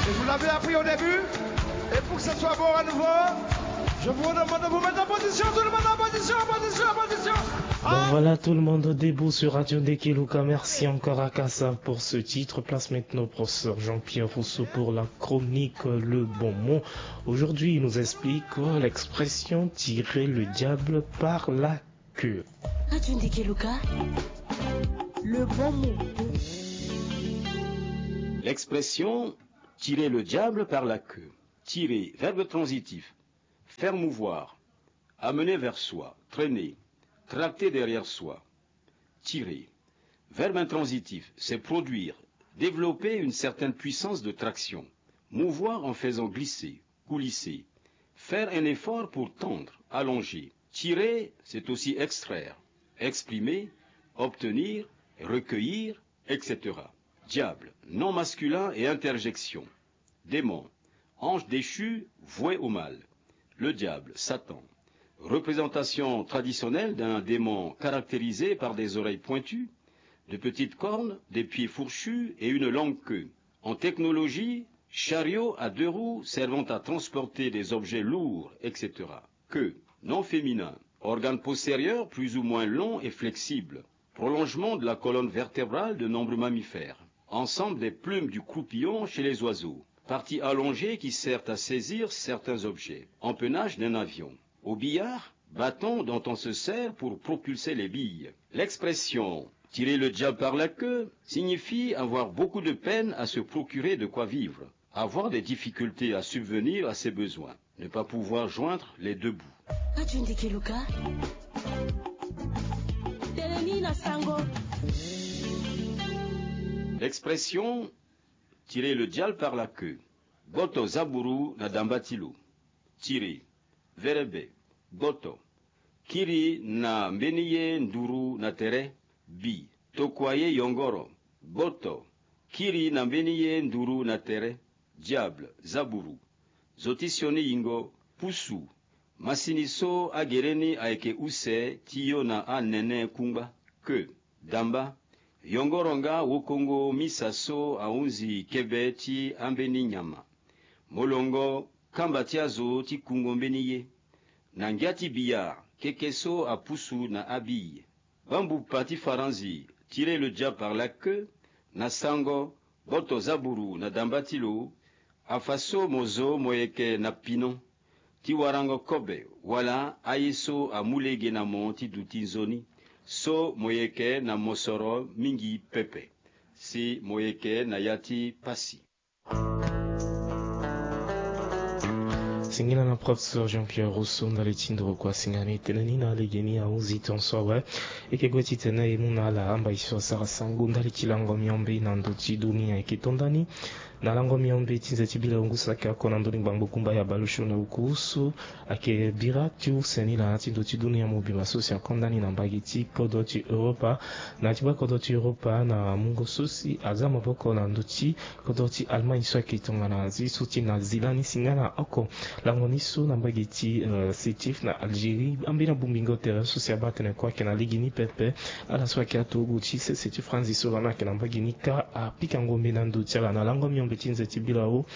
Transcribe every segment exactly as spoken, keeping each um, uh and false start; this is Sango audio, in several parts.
Et vous l'avez appris au début. Et pour que ce soit bon à nouveau, je vous demande de vous mettre en position, tout le monde en position, en position, en position. Bon, voilà, tout le monde debout sur Radio Ndekeluka. Merci encore à Kassav pour ce titre. Place maintenant au professeur Jean-Pierre Rousseau pour la chronique Le Bon Mot. Aujourd'hui, il nous explique l'expression tirer le diable par la queue. Radio Ndekeluka, Le Bon Mot. L'expression tirer le diable par la queue. Tirer, verbe transitif. Faire mouvoir. Amener vers soi, traîner, tracter derrière soi. Tirer. Verbe intransitif, c'est produire, développer une certaine puissance de traction. Mouvoir en faisant glisser, coulisser. Faire un effort pour tendre, allonger. Tirer, c'est aussi extraire, exprimer, obtenir, recueillir, et cetera. Diable, nom masculin et interjection. Démon, ange déchu, voué au mal. Le diable, Satan. Représentation traditionnelle d'un démon caractérisé par des oreilles pointues, de petites cornes, des pieds fourchus et une longue queue. En technologie, chariot à deux roues servant à transporter des objets lourds, et cetera. Queue, nom féminin, organe postérieur plus ou moins long et flexible, prolongement de la colonne vertébrale de nombreux mammifères, ensemble des plumes du croupillon chez les oiseaux, partie allongée qui sert à saisir certains objets, empennage d'un avion. Au billard, bâton dont on se sert pour propulser les billes. L'expression tirer le diable par la queue signifie avoir beaucoup de peine à se procurer de quoi vivre, avoir des difficultés à subvenir à ses besoins, ne pas pouvoir joindre les deux bouts. Radio Ndekeluka, telemi na sango. L'expression tirer le diable par la queue. Gboto zaburu na damba ti lo. Tirer. Verbe, gboto. Kiri na mbeni ye nduru na tere. Bi, tokua ye yongoro. Gboto. Kiri na mbeni ye nduru na tere. Diable, zaburu. Zo ti sioni yingo, pusu. Masini so agere ni ayeke use ti yo na anene kungba. Queue. Damba. Yongoro nga wokongo misa so ahunzi kebe ti ambeni nyama. Molongo kamba ti azo ti kungo mbeni ye. Na ngia ti billard, keke so apusu na abille. Bambupa ti faranzi, tirer le diable par la queue, na sango, gboto zaburu na damba ti lo, afa so mo zo mo yeke na pinon ti warango kobe wala aye so amu lege na mo ti duti nzoni, so mo yeke na mosoro mingi pepe, si mo yeke na ya ti pasi. Singila na professeur Jean-Pierre Rousseau ndali ti nduru kua singani tënë ni na lege ni ahunzi tonso awe. E yeke gue titene e mu na ala amba e so asara sango ndali ti lango miombe na ndö ti dunia. E yeke to ndani na lango miombe ti nze ti bila hungu saki oko na ndö ni ngbangbo gumba ya bale osio na uku so ayeke bira ti use ni laa ti ndö ti dunia mobimba so si akonda ni na mbage ti kodro ti Europa. Na ya ti baa kodro ti Europa na mungo so si aza maboko na ndö ti kodro ti Allemagne so ayeke tongana azi so ti Nazi lani singa na oko lango ni so na mbage ti, eh, Sétif na Algérie. Ambeni abongbingo tere so si abaa tënë kue ayeke na lege ni pepe. Ala so ayeke aturugu ti sese ti Franzi so lani ayeke na mbage ni kâ apika ngombe na ndö ti ala na lango miombe ti nze ti bila o.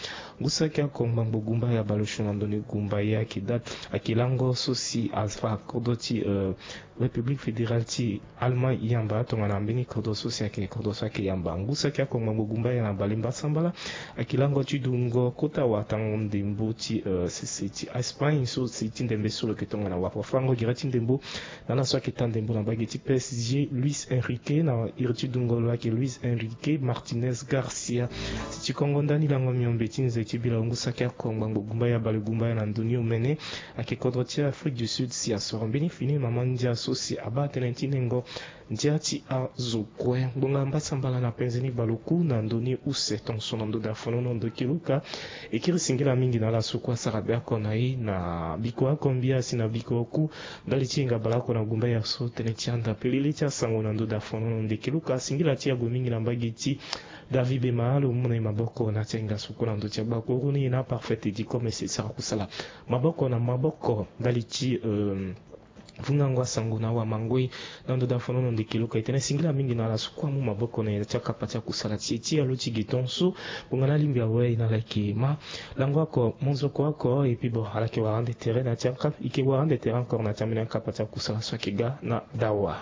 Ngu saki oko ngbangbo gumba ya bale osio na ndö ni gumba ye ayeke date ayeke lango so si afa kodro ti, eh, République fédérale ti Allemagne yamba tongana mbeni kodro so si ayeke kodro so ayeke yamba. Ngu saki oko ngbangbo gumba ya na bale mbasambala ayeke lango ti dungo kota watango ndembo ti, eh, sese ti Espagne so si ti ndembe so lo yeke tongana wafa fango gere ti ndembo na ala so ayeke taa ndembo na mbage ti P S G, Luis Enrique, na iri ti dungo lo ayeke Luis Enrique Martinez Garcia. Si ti kongo ndani lango miombe ti nze ti bila hungu saki oko ngbangbo gumba ya bale gumba ya na ndö ni omene ayeke kodro ti Afrique du Sud si asoro mbeni fini mama ndia so si abaa tënë ti nengo ndia ti azo kue. Ngbonga mbasambala na penze ni bale oku na ndö ni use tonso na ndö dafonono ndo keluka. E kiri singila mingi na ala so kue asara be oko na e na biko oko mbia si na biko oku ndali ti hinga bale oko na gumba ya so tënë ti anda pelele ti asango na ndö dafonono ndo keluka. Singila ti ague mingi na mbage ti David Bema lo mu na e maboko na ti ahinga so kue na ndö ti agbakuru ni na Parfait Teddy Commerce sara kusala maboko na maboko ndali ti, euh, vungango asango na awamangoi. Na ndo da fonono ndeke loka e tene singila mingi na ala so kue amu maboko na ya ti akapa ti akusala ti e ti alo ti gi ton so. Ngbonga na alingbi awe e na ala yeke ma lango oko monzoko oko epi bon ala yeke wara ande tere na ya ti akapa e yeke wara ande tere encore na ya ti ambeni akapa ti akusala so ayeke ga na dawa.